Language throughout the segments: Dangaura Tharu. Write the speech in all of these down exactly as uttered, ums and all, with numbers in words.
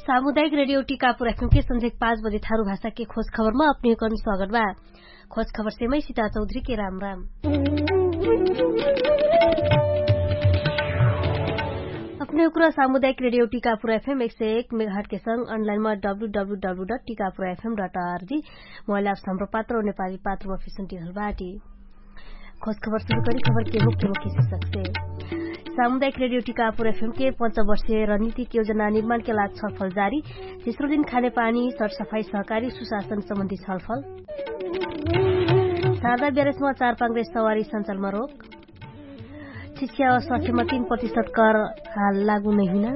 सामुदायिक रेडियो टिकापुर एफएम के संझेक पाँच बजे थारु भाषा के खोज खबरमा अपने हुकन स्वागत बा। खोज खबर सेमै सिता चौधरी के राम राम। अपने हुकुरा सामुदायिक रेडियो टिकापुर एफएम एक सय एक मेघाट के संग अनलाइनमा W W W dot Tikapur FM dot RG mobile apps Hamro Patro नेपाली पात्रमा फिसुन्टिरहल बाटी। खोज खबर सुरु करी खबर के मुख्य मुख्य शीर्षक से। सामुदायिक रेडियो टिकापुर एफएम के पञ्च वर्षीय रणनीतिक योजना निर्माण के लाग छलफल जारी। तेस्रो दिन खाने पानी सरसफाई सहकारी सुशासन सम्बन्धी छलफल। सारदा ब्यारेसमा चार पाङ्रे सवारी सञ्चालमा रोक। शिक्षा स्वास्थ्यमा तीन प्रतिशत कर हाल लागू नै हुइना।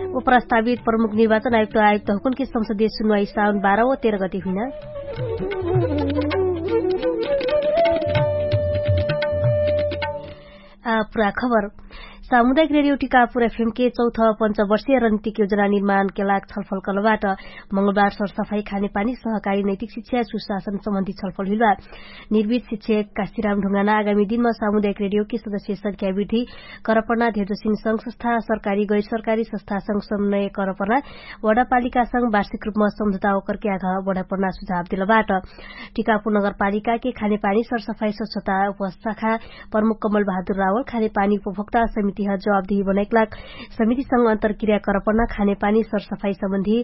व प्रस्तावित प्रमुख निर्वाचन आयुक्त आयुक्त हुकुन के संसदीय सुनवाई साउन बाह्र व तेह्र गति हुइना। पुरा खबर। सामुदायिक रेडियो टिकापुर एफएम के चौथ पञ्च वर्षीय रणनीतिक योजना निर्माण के लाग छलफल कलबाट। मंगलबार सरसफाई खाने पानी सहकारी नैतिक शिक्षा सुशासन सम्बन्धी छलफल हुइलबा। निर्वित शिक्षक काशीराम ढुङ्गाना आगामी दिनमा सामुदायिक रेडियो के सदस्य संख्या वृद्धि करपना धेजोसिन संघ संस्था सरकारी गैर सरकारी संस्था संग समन्वय करपना वडापालिका संग वार्षिक रूपमा सम्झौता ओकर के आघा बढापना सुझाव दिलबाट। टिकापुर नगरपालिका के खाने पानी सरसफाई स्वच्छता उपशाखा प्रमुख कमल बहादुर रावल खाने पानी उपभोक्ता समिति ह जवाबदेही बनैक लाग समिति संग अन्तरक्रिया करपना खाने पानी सरसफाई सम्बन्धी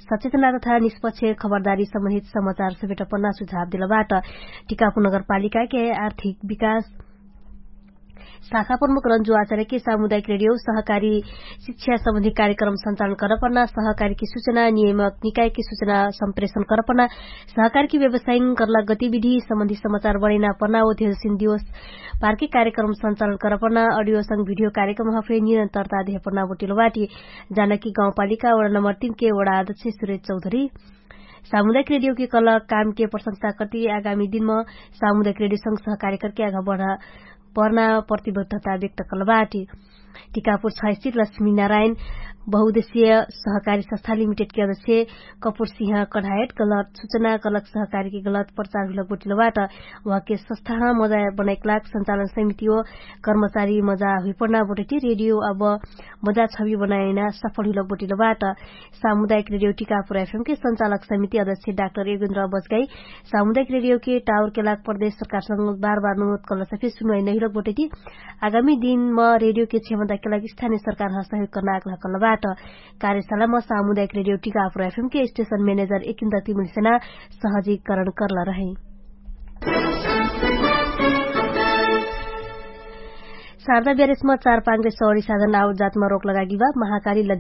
सचेतना तथा निष्पक्ष खबरदारी सम्बन्धित समाचार समेटपना सुझाव दिलबाट। टिकापुर नगरपालिका के आर्थिक विकास शाखा प्रमुख रन्जु आचार्य के सामुदायिक रेडियो सहकारी शिक्षा सम्बन्धी कार्यक्रम सञ्चालन करपना सहकारी के सुचना नियमक निकाय के सुचना सम्प्रेषण करपना सहकारी के व्यवसायिक करला गतिविधि सम्बन्धी समाचार बढैना पना ओ धेरसिन दिवस पार्के कार्यक्रम सञ्चालन करपना अडियो संग भिडियो कार्यक्रम हफे निरन्तरता धेपना बोटिलो बाटी। जानकी गाउँपालिका वडा नम्बर तीन के वडा अध्यक्ष सुरेश चौधरी सामुदायिक रेडियो के कल काम के प्रशंसा करती आगामी दिनमा सामुदायिक रेडियो संग सहकारी करके आगा बढा पर्ना प्रतिबद्धता व्यक्त कलबाटी। टिकापुर छ स्थित लक्ष्मी नारायण बहुद्देश्य सहकारी संस्था लिमिटेड के अध्यक्ष कपुर सिंह कढायत गलत सुचना गलत सहकारी के गलत प्रचार हुलक बोटिलबाट। उहाँके संस्था मजा बनाइक लाग सञ्चालन समिति हो कर्मचारी मजा हुइपडना बोटैती रेडियो अब मजा छवि बनाएना सफल हुइलक बोटिलबाट। सामुदायिक रेडियो टिकापुर एफएम के सञ्चालक समिति अध्यक्ष डाक्टर योगेन्द्र बजगाई सामुदायिक रेडियो के टावर के लाग प्रदेश सरकार संग बार बार अनुरोध कलस फिर सुनवाई नहिलक बोटैती। आगामी दिनमा रेडियो के क्षमता के लाग स्थानीय सरकार ह सहयोग कर्ना आग्रह कलबाट। कार्यशालामा सामुदायिक रेडियो टिकापुर एफएम के स्टेशन म्यानेजर एकिन्द्र तिमुलसेना सहजीकरण कर्ला रहै। शारदा ब्यारेसमा चार पाङ्रे सौरी साधन आउट जातमा रोक लगागी बा महाकाली लद्या